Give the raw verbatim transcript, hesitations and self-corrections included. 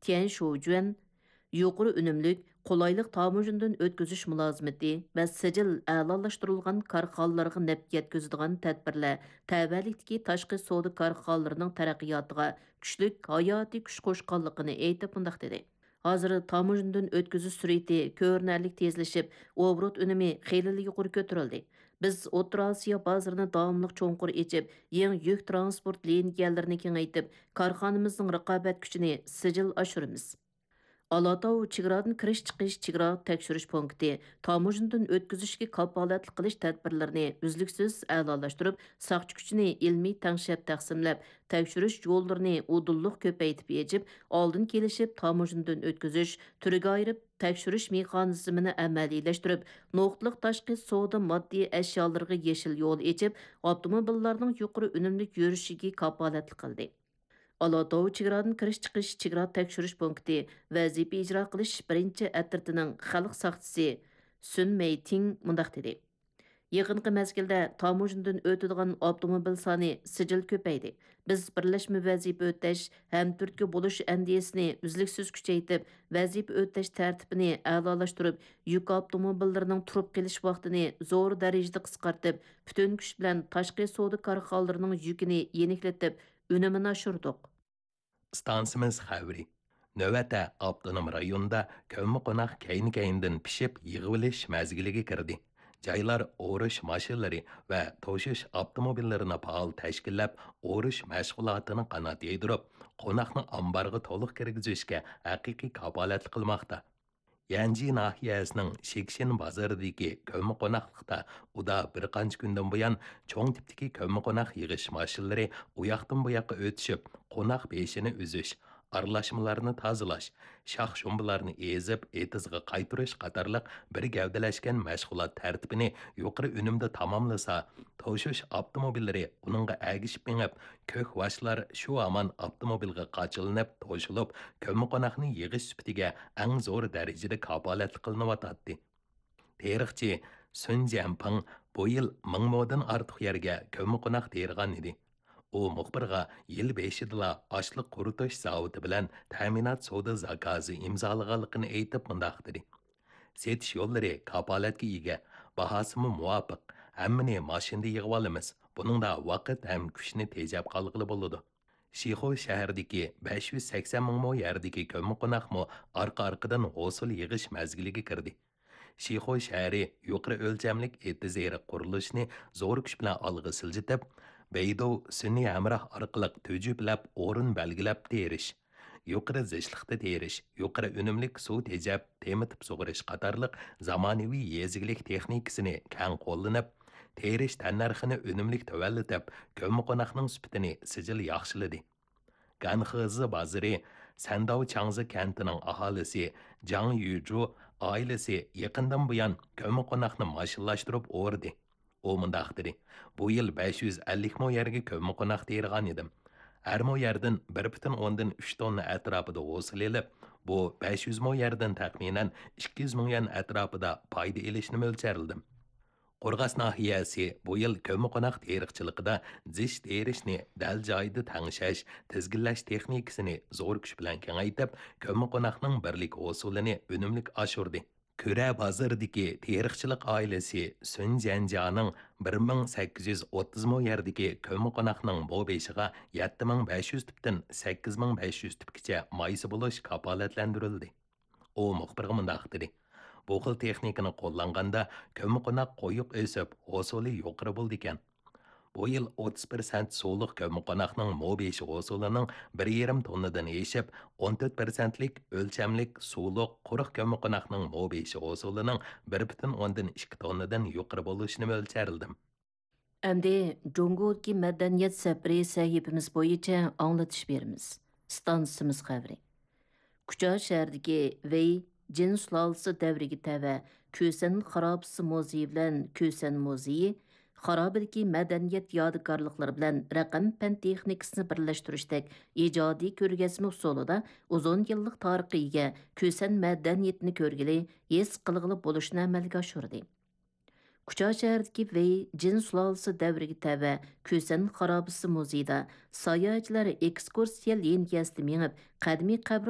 تيەن شوجۈەن يۇقىرى ئۈنۈملۈك، قولايلىق تاموژنىدىن ئۆتكۈزۈش مۇلازىمىتى ۋە سىجىل ئەلالاشتۇرۇلغان كارخانىلارغا نەپ يەتكۈزىدىغان تەدبىرلەر تەۋەلىكتىكى تاشقى سودا كارخانىلىرىنىڭ تەرەققىياتىغا كۈچلۈك ھاياتىي كۈچ قوشقانلىقىنى ئېيتىپ مۇنداق دېدى: ھازىر تاموژنىدىن ئۆتكۈزۈش سۈرئىتى كۆرۈنەرلىك تېزلىشىپ، ئوبوروت ئۈنۈمى خېلىلا يۇقىرى كۆتۈرۈلدى. بىز ئوتتۇرا ئاسىيا بازىرىنى داۋاملىق چوڭقۇر ئېچىپ، يېڭى يۈك تىرانسپورت لىنىيەلىرىنى كېڭەيتىپ، كارخانىمىزنىڭ رىقابەت كۈچىنى سىجىل ئاشۇرىمىز. ئالاتاۋ چېگرادىن كىرىش-چىقىش چېگرا تەكشۈرۈش پونكىتى تاموژنىدىن ئۆتكۈزۈشكە كاپالەتلىك قىلىش تەدبىرلىرىنى ئۈزلۈكسىز ئەلالاشتۇرۇپ، ساقچى كۈچىنى ئىلمىي تەڭشەپ تەقسىملەپ، تەكشۈرۈش يوللىرىنى ئۇدۇللۇق كۆپەيتىپ ئېچىپ، ئالدىن كېلىشىپ تاموژنىدىن ئۆتكۈزۈش، تۈرگە ئايرىپ تەكشۈرۈش مېخانىزمىنى ئەمەلىيلەشتۈرۈپ، نۇقتىلىق تاشقى سودا ماددىي ئەشيالىرىغا يېشىل يول ئېچىپ، ئاپتوموبىللارنىڭ يۇقىرى ئۈنۈملۈك يۈرۈشىگە كاپالەتلىك قىلدى. ئالاتاۋ چېگرادىن كىرىش-چىقىش چېگرا تەكشۈرۈش پونكىتى ۋەزىپە ئىجرا قىلىش بىرىنچى ئەترىتىنىڭ خەلق ساقچىسى سۈن مەيتىڭ مۇنداق دېدى: يېقىنقى مەزگىلدە تاموژنىدىن ئۆتىدىغان ئاپتوموبىل سانى سىجىل كۆپەيدى. بىز بىرلەشمە ۋەزىپە ئۆتەش، ھەمتۈرتكە بولۇش ئەندىزىسىنى ئۈزلۈكسىز كۈچەيتىپ، ۋەزىپە ئۆتەش تەرتىپىنى ئەلالاشتۇرۇپ، يۈك ئاپتوموبىللىرىنىڭ تۇرۇپ قېلىش ۋاقتىنى زور دەرىجىدە قىسقارتىپ، پۈتۈن كۈچ بىلەن تاشقى سودا كارخانىلىرىنىڭ يۈكىنى يېنىكلىتىپ، ئۈنۈمىنى ئاشۇردۇق. ئىستانسىمىز خەۋىرى. نۆۋەتتە ئاپتونوم رايوندا كۆممىقوناق كەينى-كەينىدىن پىشىپ يىغىۋېلىش مەزگىلىگە كىردى. جايلار ئورۇش ماشىنىلىرى ۋە توشۇش ئاپتوموبىللىرىنى پائال تەشكىللەپ، ئورۇش مەشغۇلاتىنى قانات يايدۇرۇپ، قوناقنى ئامبارغا تولۇق كىرگۈزۈشكە ھەقىقىي كاپالەتلىك قىلماقتا. يەنجى ناھىيەسىنىڭ شىكشىن بازىرىدىكى كۆممىقوناقلىقتا ئۇدا بىر قانچە كۈندىن بۇيان چوڭ تىپتىكى كۆممىقوناق يىغىش ماشىنىلىرى ئۇياقتىن بۇياققا ئۆتۈشۈپ، قوناق بېشىنى ئۈزۈش، ئارىلاشمىلارنى تازىلاش، شاخ-شۇمبىلارنى ئېزىپ، ئېتىزغا قايتۇرۇش قاتارلىق بىر گەۋدىلەشكەن مەشغۇلات تەرتىپىنى يۇقىرى ئۈنۈمدە تاماملىسا، توشۇش ئاپتوموبىللىرى ئۇنىڭغا ئەگىشىپ مېڭىپ، كۆك ۋاشلار شۇ ھامان ئاپتوموبىلغا قاچىلىنىپ توشۇلۇپ، كۆممىقوناقنى يىغىش سۈپىتىگە ئەڭ زور دەرىجىدە كاپالەتلىك قىلىنىۋاتاتتى. تېرىقچى سۈن جيەنپىڭ بۇ يىل مىڭ مودىن ئارتۇق يەرگە كۆممىقوناق تېرىغان ئىدى. ئۇ مۇخبىرغا يىل بېشىدىلا ئاشلىق قۇرۇتۇش زاۋۇتى بىلەن تەمىنات سودا زاكازى ئىمزالىغانلىقىنى ئېيتىپ مۇنداق دېدى: سېتىش يوللىرى كاپالەتكە ئىگە، باھاسىمۇ مۇۋاپىق، ھەممىنى ماشىنىدا يىغىۋالىمىز، بۇنىڭدا ۋاقىت ھەم كۈچنى تېجەپ قالغىلى بولىدۇ. شىخۇ شەھىرىدىكى بەش يۈز سەكسەن مىڭ مو يەردىكى كۆممىقوناقمۇ ئارقا-ئارقىدىن ھوسۇل يىغىش مەزگىلىگە كىردى. شىخۇ شەھىرى يۇقىرى ئۆلچەملىك ئېتىز ئېرىق قۇرۇلۇشىنى زور كۈچ بىلەن ئالغا سىلجىتىپ، بەيدۇ سۈنئىي ھەمراھ ئارقىلىق تۈجۈپلەپ ئورۇن بەلگىلەپ تېرىش، يۇقىرى زىچلىقتا تېرىش، يۇقىرى ئۈنۈملۈك سۇ تېجەپ، تېمىتىپ سۇغىرىش قاتارلىق زامانىۋى يېزا ئىگىلىك تېخنىكىسىنى كەڭ قوللىنىپ، تېرىش تەننەرخىنى ئۈنۈملۈك تۆۋەنلىتىپ، كۆممىقوناقنىڭ سۈپىتىنى سىجىل ياخشىلىدى. گەنخېزى بازىرى سەنداۋ چاڭزى كەنتىنىڭ ئاھالىسى جاڭ يۈجۇ ئائىلىسى يېقىندىن بۇيان كۆممىقوناقنى ماشىنىلاشتۇرۇپ ئورىدى. ئۇ مۇنداق دېدى: بۇ يىل بەش يۈز ئەللىك مو يەرگە كۆممىقوناق تېرىغان ئىدىم. ھەر مو يەردىن بىر پۈتۈن ئوندىن ئۈچ توننا ئەتراپىدا ھوسۇل ئېلىپ، بۇ بەش يۈز مو يەردىن تەخمىنەن ئىككى يۈز مىڭ يۈەن ئەتراپىدا پايدا ئېلىشنى مۆلچەرلىدىم. قورغاس ناھىيەسى بۇ يىل كۆممىقوناق تېرىقچىلىقىدا زىچ تېرىشنى دەل جايىدا تەڭشەش، تىزگىنلەش تېخنىكىسىنى زور كۈچ بىلەن كېڭەيتىپ، كۆممىقوناقنىڭ بىرلىك ھوسۇلىنى ئۈنۈملۈك ئاشۇردى. كۈرە بازىرىدىكى تېرىقچىلىق ئائىلىسى سۈن جيەنجيانىڭ بىر مىڭ سەككىز يۈز ئوتتۇز مو يەردىكى كۆممىقوناقنىڭ مو بېشىغا يەتتە مىڭ بەش يۈز تۈپتىن سەككىز مىڭ بەش يۈز تۈپكىچە مايسا بولۇش كاپالەتلەندۈرۈلدى. ئۇ مۇخبىرغا مۇنداق دېدى: بۇ خىل تېخنىكىنى قوللانغاندا، كۆممىقوناق قويۇق ئۆسۈپ، ھوسۇلى يۇقىرى بولىدىكەن. بۇ يىل ئوتتۇز پىرسەنت سۇلۇق كۆممىقوناقنىڭ مو بېشى ھوسۇلىنىڭ بىر يېرىم توننىدىن ئېشىپ، ئون تۆت پىرسەنتلىك ئۆلچەملىك سۇلۇق قۇرۇق كۆممىقوناقنىڭ مو بېشى ھوسۇلىنىڭ بىر پۈتۈن ئوندىن ئىككى توننىدىن يۇقىرى بولۇشىنى مۆلچەرلىدىم. ئەمدى جۇڭگودىكى مەدەنىيەت سەپىرى سەھىپىمىز بويىچە ئاڭلىتىش بېرىمىز. ئىستانسىمىز خەۋىرى. كۇچا شەھىرىدىكى ۋېي جىن سۇلالىسى دەۋرىگە تەۋە كۈسەن خارابىسى مۇزېيى بىلەن كۈسەن مۇزېيى خارابىدىكى مەدەنىيەت يادىكارلىقلىرى بىلەن رەقەم پەن تېخنىكىسىنى بىرلەشتۈرۈشتەك ئىجادىي كۆرگەزمە ئۇسۇلىدا ئۇزۇن يىللىق تارىخقا ئىگە كۈسەن مەدەنىيىتىنى كۆرگىلى، ھېس قىلغىلى بولۇشىنى ئەمەلگە ئاشۇردى. كۇچا شەھىرىدىكى ۋېي جىن سۇلالىسى دەۋرىگە تەۋە كۈسەن خارابىسى مۇزېيىدا ساياھەتچىلەر ئېكسكۇرسىيە لىنىيەسىدە مېڭىپ، قەدىمىي قەبرە